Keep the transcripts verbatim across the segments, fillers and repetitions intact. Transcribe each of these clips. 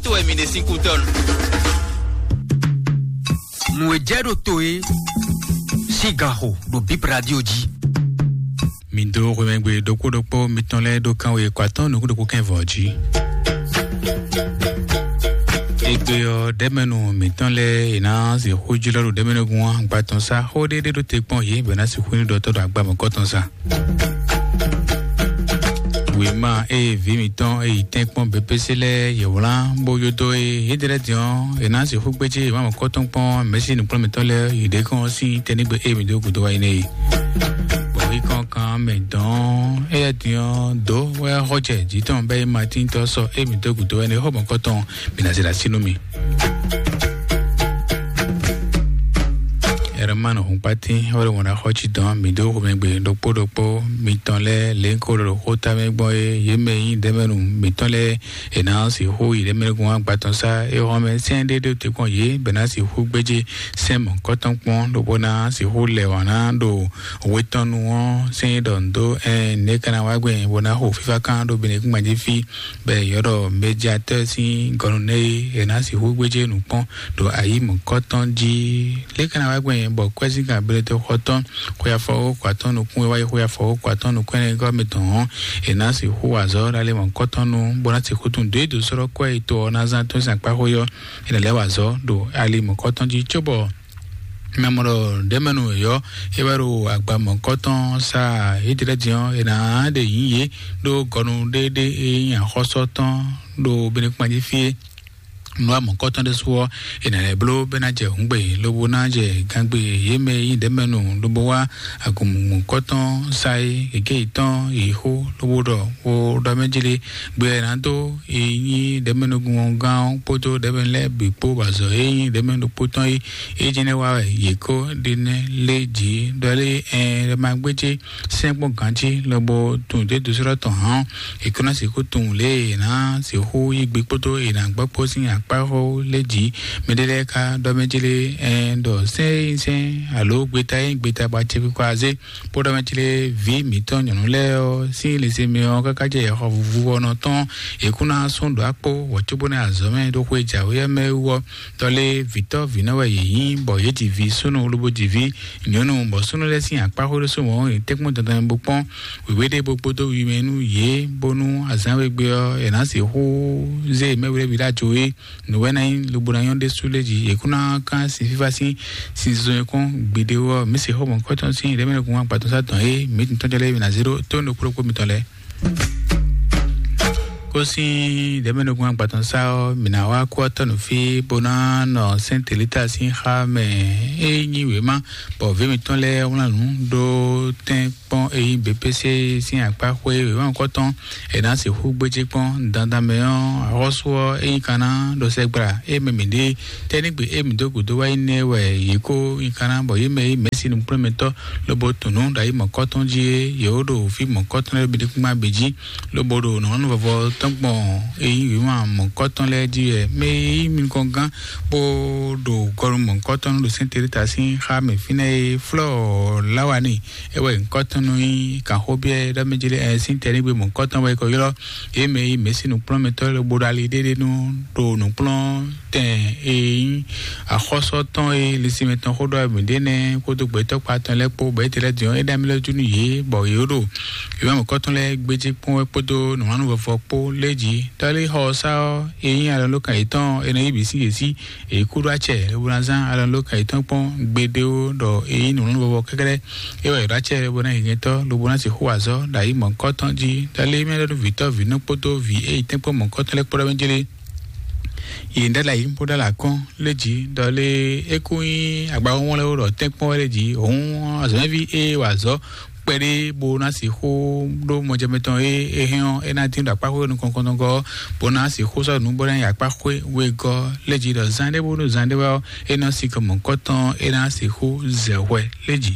To wɛ mi ɖe sín kútɔ́ nu. Nǔ e jɛ ɖo to e sín gan xo ɖo Bib Radio jí. Mi dó xwemɛgbe ɖokpó ɖokpó mitɔn lɛ́ɛ ɖó kánwe kɔ atɔ́ nukún ɖokpó kɛ́n vɔ̌ jí. Égbé ɔ́, ɖɛ̌mɛnu mǐtɔn lɛ́ɛ è nǎ sixú jlɔ́ ɖo ɖɛ̌mɛnúgún agba tɔn sá xó ɖéɖé ɖó te kpɔ́n yě bɔ è nǎ sixú nyí ɖɔtɔ́ ɖo agba mɔ̌kɔ tɔn sá. Wěma e vǐ mǐtɔn e yi tɛ́nkpɔ́n B P C lɛ́ɛ yě wlán bó yó dó é, yědɛ́ lɛ́ɛ din ɔ́, è nǎ sixú gbéjé wěma mɔ̌kɔtɔn kpɔ́n mɛ̌si nǔkplɔ́nmɛtɔ́ lɛ́ɛ yi ɖě kɔn sín tɛ́ nígbe e mǐ dó gǔdo wá yi nɛ́ é. Bɔ é kɔn kan mɛ dɔn éyɛ́ din ɔ́, dǒ wɛ xɔ jɛ jǐ tɔn bɛ́ é ma tíntɔ́ sɔ e mǐ dó gǔdo wá yi nɛ́ xɔ mɔ̌kɔtɔn mǐ ná zé ɖo así nú mì. Ɛrɛmán Hɔnkpátín wɛ ɖo wǎn ɖó xɔ cí dɔn mǐ dó xomɛgbe ɖokpó ɖokpó mitɔn lɛ́ɛ lě ko ɖo xó ta mɛ gbɔn é, yě mɛ nyí ɖɛ̌mɛnu mǐtɔn lɛ́ɛ è nǎ sixú yi ɖɛ̌mɛnugún agba tɔn sá é hɔn mɛ sɛ́n ɖé ɖó te kpɔ́n yě bɔ è nǎ sixú gbéjé sɛ́n mɔ̌kɔtɔn kpɔ́n lobo ná sixú lɛ wǎn ná ɖo we tɔn nu ɔ́ sɛ́n é ɖɔ nǔ dó ɛn nɛ̌ ka ná wá gbɛn bó ná xo fífá kán ɖó benekúngban jí fí bɔ è ylɔ́ ɖɔ médiatɛ́ sín gɔnu nɛ́ é è nǎ sixú gbéjé nǔ kpɔ́n ɖo ayǐ mɔ̌kɔtɔn jí. Lě ka ná wá gbɛn bɔ kwɛ́zíngán Beletexɔtɔn xwe afɔwókɔ atɔ́ɔ́n nukún e wá yi xwe afɔwókɔ atɔ́ɔ́n nukún ɛnɛ gɔ́ mitɔn ɔ́, è nǎ sixú wa azɔ̌ ɖo alɛ mɔ̌kɔtɔn nu, bó ná sixú tunwun dó e dǒ sɔ́ ɖɔ kwɛ́ e to ɔ́ ná zán tó sín akpáxwé ɔ́, è nǎ lɛ́ wa azɔ̌ ɖo ali mɔ̌kɔtɔn jí cóbɔ mɛ mɔ ɖɔ ɖɛ̌mɛnu wěyɔ́ é wɛ ɖo agba mɔ̌kɔtɔn sá Ídlɛ́ din ɔ́, è nǎ ɖe yǐ yě ɖó gɔnu ɖéɖé e nyí axɔ́sɔ tɔn ɖo Benekpán jí fí é. Nǔ wa mɔ̌kɔtɔn ɖésú ɔ́, è nǎ lɛ́ bló bɔ é ná jɛ hǔngbe, lobo ná jɛ gangbe yě mɛ e nyí ɖɛ̌mɛnu lobo wá agun mɔ̌kɔtɔn sá é, gěgé yětɔn yi xó, lobo ɖɔ wo ɖɔ mɛ jlé gbe ɔ́ è nǎ dó yi nyí ɖɛ̌mɛnugún gán ɔ́ kpódó ɖɛ̌mɛnu lɛ́ɛ bǐ kpó, bɔ azɔ̌ e nyí ɖɛ̌mɛnu ɖokpó tɔn é, é jɛ́n nɛ́ wa wɛ yě kó ɖe nɛ́ lé jǐ ɖɔ lé ɛn ɖɔ ma gbéjé sɛ́n kpɔ́n gǎn jí lobo tunwun dě dǒsɔ́ɖɔ tɔn hǎn ɔ́, è ko ná sixú tunwun lě e è nǎ sixú yí gbe kpódó è nǎ gbɔ kpó sín akpáxó lɛ́ɛ jí. Mɛɖé lɛ́ɛ ka ɖɔ mɛ jí lé ɛn ɖɔ sɛ́n e nyí sɛ́n alo gbeta e nyí gbeta bɔ acɛkpikpa azé kpó ɖɔ mɛ jí lé vǐ mǐtɔn nyɔ̌nu lɛ́ɛ ɔ́ sín lěseme ɔ́ káká jɛ yɛxɔ vuvu ɔ́ nɔ tɔn è kún ná sún ɖo akpó wɔ cóbó ná azɔ̌ mɛ ɖo xwe jǎwe ɔ́ mɛ wú ɔ́, tɔlé vǐtɔ́ vǐnɔ wɛ yě nyí, bɔ yě ji vǐ súnnu lobo ji vǐ nyɔ̌nu, bɔ súnnu lɛ́ɛ sín akpáxwé ɖésú mɔ̌ yě tɛ́nkpɔ́n dandan bó kpɔ́n wěwé ɖé bó kpódó wiwi mɛ nú yě, bónú azǎn we gbe ɔ́, è nǎ sixú zé mɛwlɛ́ví ɖó ajo é. Nǔ wɛ ná nyí lobo ná nyɔ́ ɖésú lɛ́ɛ jí, yě kún ná kán sin fífá sín sinzɔn e kɔn gbeɖé ɔ́, mǐ sixú mɔ kɔ́tɔn sín ɖěmɛnukún agbatɔ́ sá dɔn é, mǐ tun tɔ́n jɛ lɛ́ɛ mǐ ná zé ɖó tó nukúɖokpó mitɔn lɛ́ɛ. Kó sín ɖěmɛnukún agbatɔ́ sá ɔ́, mǐ ná wá kú ɔ́ tɔ́ nǔ fí bó ná nɔ sɛ́n telíta sín xá mɛ. É nyí wěma bɔ vǐ mǐtɔn lɛ́ɛ wlán nǔ ɖó tɛ́n kpɔ́n e nyí B P C sín akpáxwé wěma kɔ́tɔn è nǎ sixú gbéjé kpɔ́n dandan mɛ ɔ́, axɔ́sú ɔ́ é nyí ka ná ɖo sɛgbla é mɛ mǐ ɖe tɛ́nígbe e mǐ dó gǔdo wá yi nɛ́ wɛ yě kó nyí ka ná bɔ yě mɛ e nyí mɛ̌si nukplɔ́nmɛtɔ́ lobo tunǔ ɖo ayi mɔ̌kɔ́tɔn jí é, yě wó ɖo fí mɔ̌kɔ́tɔn lɛ́ɛ bǐ ɖi kúngbá bǐ jí, lobo ɖo nɔ̌ nu vɔvɔ tɔn gbɔn e nyí wěma mɔ̌kɔ́tɔn lɛ́ɛ jí wɛ mɛ e nyí mi nukɔn gán bó ɖo gɔnu mɔ̌kɔ́tɔn ɖo sɛ́n telíta sín xá mɛ fínɛ́ e flɔ́ lawani é wɛ nyǐkɔ́tɔn nɔ nyí kanxóbyɛ́ ɖɔ mɛ jí lé ɛ sín tɛ́nígbe mɔ̌kɔ́tɔn wɛ é kɔ ylɔ́ yě mɛ e nyí mɛ̌si nukplɔ́nmɛtɔ́ lobo ɖo ali ɖéɖé nu ɖo nǔkplɔ́n tɛn e nyí axɔ́sɔ tɔn e linsinmɛ tɔn xó ɖɔ mǐ ɖe nɛ́ kpódó gbɛtɔ́ kpa tɔn lɛ́ɛ kpó bɔ étɛ́ lɛ́ɛ din ɔ́, é ɖo amyɔ lɛ́ɛ jú nú yě, bɔ yě ɖo wěma mɔ̌kɔtɔn lɛ́ɛ gbéjé kpɔ́n wɛ kpódó nǔwanú vɔvɔ kpó lɛ́ɛ jí. Tɔ́líxɔ ɔ́ sá ɔ́, é nyí alɔnulókan yětɔn e nɔ yí bǐ sín yě sí, è kú ɖó acɛ lobo ná zán alɔnulókan yětɔn kpɔ́n gbeɖé ó, ɖɔ é nyí nǔwanú vɔvɔ kɛ́kɛ́lɛ́. É wɛ è ɖó acɛ lobo ná nyǐnyɛ́tɔ́ lobo ná sixú wa azɔ̌ ɖo ayi mɔ̌kɔ́tɔn jí. Tɔ́lí mɛ ɖɔ nú vǐtɔ́ vǐnɔ kpódó vǐ e yi tɛ́nkpɔ́n mɔ̌kɔ́tɔn lɛ́ɛ kpó ɖɔ mɛ jlé. Yě ɖɔ lɛ ayǐ bó ɖɔ alɔ akɔ́n lé jǐ ɖɔ lé é kú nyí agbaxɔ́nwlɛ́n wó ɖɔ tɛ́nkpɔ́n wɛ lé jǐ. Hǔn azɔ̌mɛví e wa azɔ̌ kpɛɖé bó ná sixú ɖó mɔjɛmɛ tɔn e é hɛn ɔ́, é ná dín ɖo akpáxwé nukɔn kɔntɔn gɔ́, bó ná sixú sɔ́ nǔ bó ná yi akpáxwé wegɔ́ lé jǐ ɖɔ zán ɖé bónú zán ɖé wɛ ɔ́, é ná sikɔ mɔ̌kɔ́tɔn é ná sixú zɛ hwɛ lé jǐ.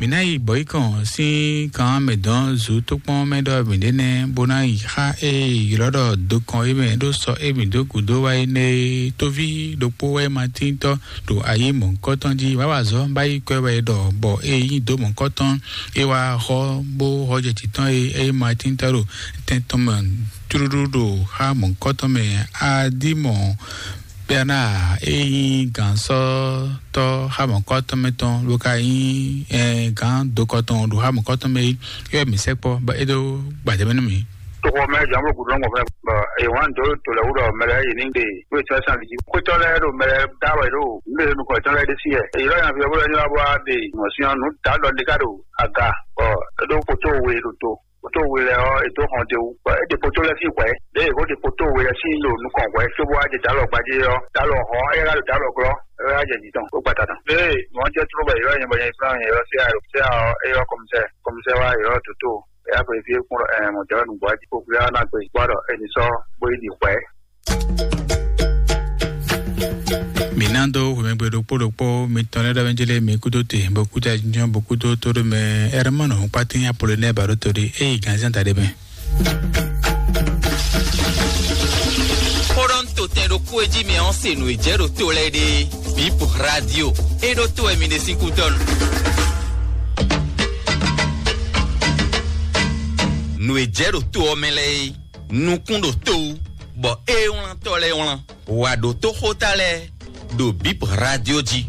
Mǐ ná yi bɔ̌yikɔn sín kan mɛ dɔn zu tókpɔn mɛ ɖɔ mǐ ɖe nɛ́, bó ná yi xá e ylɔ́ ɖɔ dokɔn é mɛ ɖó sɔ e mǐ dó gǔdo wá é nɛ́ é. Tóví ɖokpó wɛ ma tíntɔ́ ɖo ayǐ mɔ̌hunkɔtɔn jí, wǎ wa azɔ̌ bá yi kwɛ́ wɛ ɖɔ bɔ é nyí dǒ mɔ̌hunkɔtɔn é wá xɔ bó xɔ jɛ jǐ tɔn e é ma tíntɔ́ ɖo tɛn tɔn mɛ tlúɖú ɖo xá mɔ̌hunkɔtɔn mɛ. Adímɔ Bernard e nyí gǎnsɔ́tɔ́ xá mɔ̌kɔ́tɔ́ mɛ tɔn ló ka nyí gǎn dokɔ tɔn ɖo xá mɔ̌kɔ́tɔ́ mɛ é. É wɛ mǐ sɛkpɔ́ bɔ é ɖó gbadé mɛ nú mǐ. Toxo mɛ jǎn bó gǔdo lɔ́ngbɔn fún ɛ bɔ èyí wán dó to lɛ́ wú ɖɔ mɛ lɛ́ɛ yě ní ɖe wé tɔ́ sàn lǐ jí. Xwétɔ́ lɛ́ɛ ɖo mɛ lɛ́ɛ dá wɛ ɖo nǔɖé nukɔn tɔn lɛ́ɛ ɖésú yɛ. Èyí lɔ nyaví ɔ́ bó lɛ́ ní wá bó wá ɖe mɔ̌ sín ɔ́, nǔ dǎ ɖɔ ɖé ká ɖo aga bɔ é ɖó kótó we ɖo to. Kótó we lɛ́ɛ ɔ́, è dó hɔn d'é wú. Bɔ é ɖe kótó lɛ́ɛ sín hwɛ̌. Lě e è ko ɖe kótó we lɛ́ɛ sín ɖo nukɔn hwɛ̌ cóbó wá jɛ dǎlɔ gbadé ɔ́, dǎlɔ hɔn ɔ́, é wá ɖo dǎlɔ glɔ́, é wá jɛ jǐ tɔn bó gbata tɔn. Lě e wọ́n jẹ́ tló bɔ yě wá nyɛ bɔ nyɛ fúnra nyɛ ɔ́ sí ayɔ sí ayɔ ɔ́, é ɔ́ kɔmísɛ kɔmísɛ wá yě ɔ́ dǒtó. É yá xweyí fí é kún ɖɔ ɛ mɔ̌ jɛ wá nǔgbó wá jí kó gbé wá ná gbe gbɔ ɖɔ è nǐ sɔ́ bó yi ɖi hwɛ̌. Mǐ ná dó hwemɛgbe ɖokpó ɖokpó mitɔn lɛ́ɛ ɖɔ mɛ jélé mi kúdó te, bó kúdó ajínjɔ́n, bó kúdó tóɖó mɛ. Ɛrɛmɔnɔ kpátín Apolonɛ́ɛ Baɖótoli, é yi gǎnzán da ɖé mɛ. Xó ɖɔ ń to tɛn ɖokpó e jí mi ɔ́ se nǔ e jɛ ɖo to lɛ́ɛ ɖe. Bip Radio, é ɖó to wɛ mi ɖe sín kútɔ́nu. Nǔ e jɛ ɖo to ɔ́ mɛ lɛ́ɛ é, nukún ɖo to wú, bɔ é wlán tɔ́ lɛ́ɛ wlán. Wǎ ɖótó xóta lɛ́ɛ ɖo Bip Radio jí.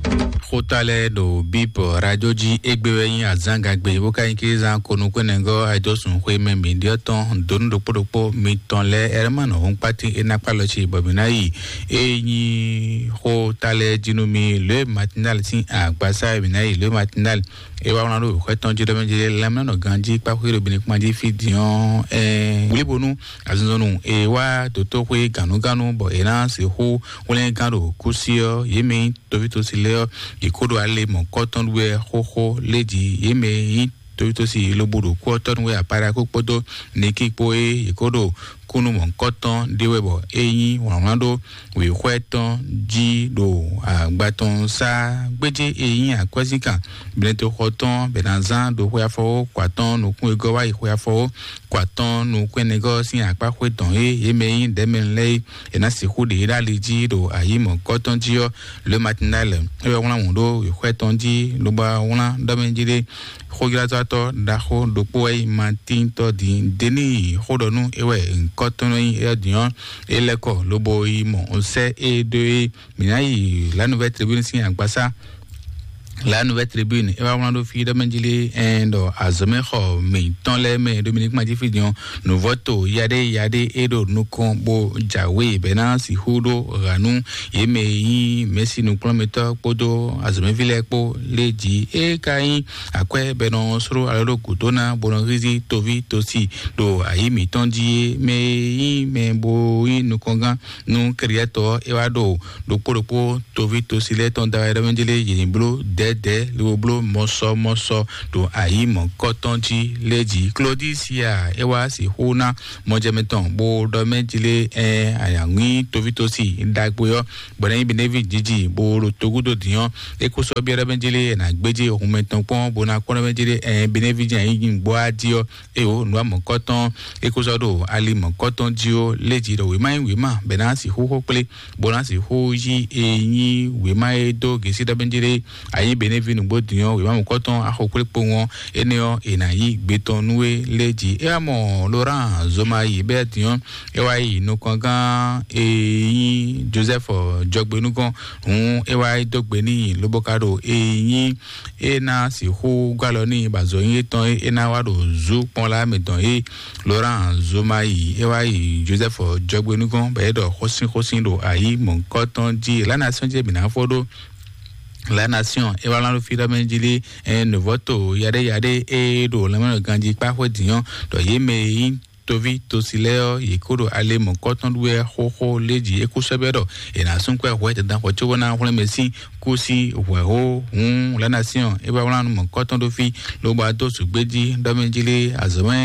Xóta lɛ́ɛ ɖo Bip Radio jí égbé wɛ nyí azǎngagbe, bó ka nyí kézán konukúnɛgɔ́ ayidɔ́sùn xwé mɛ mǐɖyɔ́ tɔn donu ɖokpó ɖokpó mitɔn lɛ́ɛ. Ɛrɛmánɔ Hɔnkpátín é ná kpá lɔ ci bɔ mǐ ná yi. É nyí xóta lɛ́ɛ jí nú mi, lě e Matinal sín agbasá e mǐ ná yi, lě e Matinal é wá wlán ɖo xwɛ tɔn jí ɖɔ mɛ jí lɛ́mlánɔ ganjí kpáxwé ɖo Benin kpán jí fí din ɔ́, ɛɛ wlíbonú azinzɔnnu e wá dǒtóxwé gǎnúgánú bɔ è ná sixú hwlɛ́ngán ɖo kúsí ɔ́, yě mɛ nyí tovítɔ́sí lɛ́ɛ ɔ́, yě kó ɖo ale mɔ̌kɔ́tɔn wɛ xóxó lé jí. Yě mɛ nyí tovítɔ́sí lobo ɖo kú ɔ́ tɔ́ nú wɛ Aparakó kpódó Nikí kpó é yě kó ɖo kúnnu mɔ̌kɔ́tɔn ɖé wɛ bɔ é nyí wlǎnwlán ɖó wěxwɛ́ tɔn jí ɖo agba tɔn sá gbéjé e nyí akwɛ́zínkan Blɛ́ntoxɔ tɔn bɛ ná zán ɖo xwe afɔwó kɔ atɔn nukún e gɔ́ wá yi xwe afɔwó kɔ atɔn nukún ɛnɛgɔ́ sín akpá xwé tɔn e yě mɛ nyí ɖɛ̌mɛnu lɛ́ɛ é, è nǎ sixú ɖe yě ɖó ali jí ɖo ayǐ mɔ̌kɔ́tɔn jí ɔ́. Le Matinal é wɛ wlán wǔ ɖó wěxwɛ́ tɔn jí lobo wá wlán ɖɔ mɛ jí ɖé. Xójlázɔ́tɔ́ ɖaxó ɖokpó wɛ nyí Matíntɔ́ din Denii xó ɖɔ nú é wɛ ŋkɔ́ tɔn nɔ nyí éyɔ́ din ɔ́, é lɛ́ kɔ lobo yi mɔ sɛ́ é ɖó é. Mǐ ná yi La Nouvelle Tribune sín agbasá. La Nouvelle Tribune é wá wlán ɖó fí ɖɔ mɛ jí lé ɛn ɖɔ azɔ̌mɛxɔ mǐtɔn lɛ́ɛ mɛ Dominique Madjifidjan nǔvɔ́to yaɖé yaɖé é ɖo nukɔn bó jǎwe bɛ́ ná sixú ɖó ɣa nú yě mɛ e nyí mɛ̌si nukplɔ́nmɛtɔ́ kpódó azɔ̌mɛví lɛ́ɛ kpó lé jí é ka nyí akwɛ́ bɔ è nɔ sló alɔ ɖó gǔdo ná bó nɔ hízí toví tosi ɖo ayǐ mǐtɔn jí é. Mɛ e nyí mɛ bo nyí nukɔngán nú kɛɖyɛ́tɔ́ ɔ́, é wá ɖo ɖokpó ɖokpó toví tosi lɛ́ɛ tɔn da wɛ ɖɔ mɛ jélé yě ní bló dɛ̌dɛ̌ lobo bló mɔsɔmɔsɔ ɖo ayǐ mɔ̌kɔ́tɔn jí lé jí. Klodisia é wá sixú ná mɔjɛmɛ tɔn bó ɖɔ mɛ jélé ɛ ayǎŋwí toví tosi ɖagbe ɔ́ bɔ ná nyí Benevi jiji bó ɖo togúdo dǐn ɔ́, é kó sɔ́ byɔ́ ɖɔ mɛ jélé ɛ nǎ gbéjé hun mɛtɔn kpɔ́n bó ná kpɔ́n ɖɔ mɛ jélé ɛ Benevi jɛ nyí gbɔ́ á jí ɔ́. Eye wǒ nǔ wa mɔ̌kɔ́tɔn é kó sɔ́ ɖo ali mɔ̌kɔ́tɔn jí ó lé jí ɖɔ wěma nyí wěma bɔ è ná sixú xó kplé bó ná sixú yí e nyí wěma e dó gěsí ɖɔ bɛ́njí ɖé ayí Benevi nǔgbó din ɔ́, wěma mɔ̌kɔ́tɔn axo kplé kpowun ɔ́, énɛ́ ɔ́ è nǎ yí gbe tɔn nú é lé jí. É wá mɔ Laurent Zoma yi bɛ́ din ɔ́, é wá yi nukɔngán e nyí Joseph Jɔgbenúgɔ́n hǔn é wá dó gbe n'i lobo ka ɖo e nyí é ná sixú gɔ́ alɔ n'i bɔ azɔ̌ nyí étɔn é é ná wá ɖo zú kpɔ́n lá mɛ dɔn é. Laurent Zoma yi é wá yi Joseph Jɔgbenúgɔ́n bɔ é ɖɔ xósínxósín ɖo ayǐ mɔ̌kɔ́tɔn jí La Nation jí mǐ ná fó ɖó. La Nation é wá lán ɖó fí ɖɔ mɛ jí lé ɛ nǔvɔ́to yaɖé yaɖé é ɖo lanmɛnɔ ganjí kpá xwé dǐn ɔ́ ɖɔ yě mɛ e nyí Toví tosi lɛ́ɛ ɔ́, yě kó ɖo ale mɔ̌kɔtɔn ɖu wɛ xóxó lé jí é kú sɛ́ bɛ́ ɖɔ è nǎ sún kwɛ́ hwɛ dandan xɔ cóbó ná hwlɛ́n mɛ sín kú sí hwɛ̌xó hǔn lanasíɔn é wá wlán nú mɔ̌kɔtɔn ɖó fí, lobo adó sǔgbé jí ɖɔ mɛ jí lé azɔ̌mɛ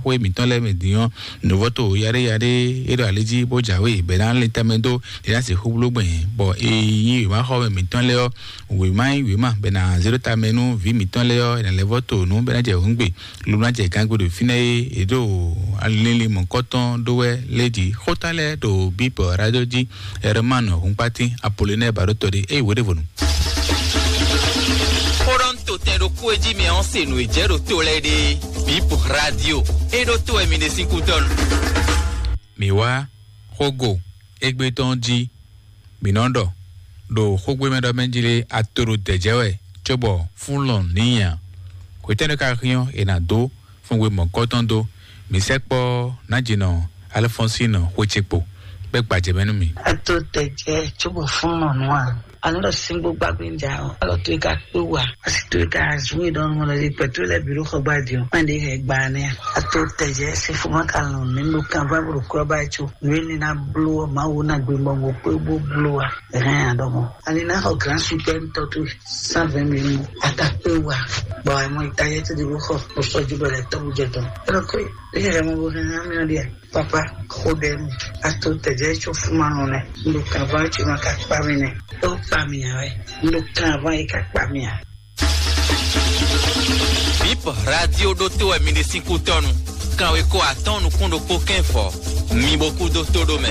xwé mǐtɔn lɛ́ɛ mɛ din ɔ́, nǔvɔ́to yaɖé yaɖé é ɖo ali jí bó jǎwe bɛ̌ ná lin tamɛ dó ɖě ná sixú bló gbɛn, bɔ è nyí wěma xɔ mɛ mǐtɔn lɛ́ɛ ɔ́, wěma nyí wěma bɛ ná zé ɖó tamɛ nú vǐ mǐtɔn lɛ́ɛ ɔ́, è nǎ lɛ́ vɔ́ to nǔ bɛ ná jɛ hǔngbe, lobo ná jɛ gangbe ɖo fínɛ́ é è ɖo linlin mɔ̌kɔtɔn ɖó wɛ lé jí. Xóta lɛ́ɛ ɖo bíbɔ radio jí. Herman Hunkpatin Apollinaire Baɖótɔɖé é wǒ ɖěvo nú. Xóɖɔ́ntotɛn ɖokpó e jí mɛ ɔ́ se nǔ e jɛ ɖo to lɛ́ɛ ɖe. Bíbɔ radio é ɖó to wɛ mi ɖe sín kútɔ́nu. Mǐ wá xógo égbé tɔn jí. Mǐ nɔ ɖɔ ɖo xógbémɛ ɖɔ mɛ jí lé ato ɖo dɛ̌jɛ́ wɛ, cóbɔ fún lɔn nǐ nya. Hwetɛ́nu ka hyɔ́n è nǎ dó fúnwe mɔ̌kɔ́tɔn dó? Mǐ sɛkpɔ́ Nǎjínɔ Alfɔnsín xwé ce kpo, bɛ́ gbajɛ mɛ nú mì. Ato dɛ̌jɛ́ cóbɔ fún lɔn nǔ a? Anú ɖɔ síngbó gbàgbé ń jà ọ́. Alɔ tó yẹ ká kpé wà. Asi tó yẹ ká zún yìí dɔn mɔ lɛ pẹ̀tú lɛ bìrú xɔ gbá di o. Má ɖe hɛ gba nɛ. Ato tɛjɛ se fún ma ka lɔn ní ló kan bá bro kúrò bá tso. Nú ní ná bló ɔ má wo ná gbé mɔ gbó kpé bó bló a. Ɛhɛn adɔmɔ. Ani ná xɔ grand super ŋutɔ tó cent vingt mille mu. Ata kpé wà. Bɔ àmọ́ ìtajẹ́ tó di bó xɔ. Bó sọ ju bẹ̀rẹ̀ tọ́ bó jẹ tán. Ẹ lọ kó yìí. Ẹ yẹ mọ bó hẹ́n hàn mí ọ̀ di ẹ̀. Papa, xo ɖe nu. Ato tɛjɛ tso fuma nɔ nɛ. Ndo kan va tso ma ka kpa mi nɛ. Tɔ kpa mi ya wɛ. Ndo kan va yi ka kpa mi ya. Bip radio ɖo to wɛ mi ɖe sín kú tɔnu. Kanwe ko atɔn nukún ɖokpó kɛn fɔ. Mi bo kú dó tó ɖó mɛ.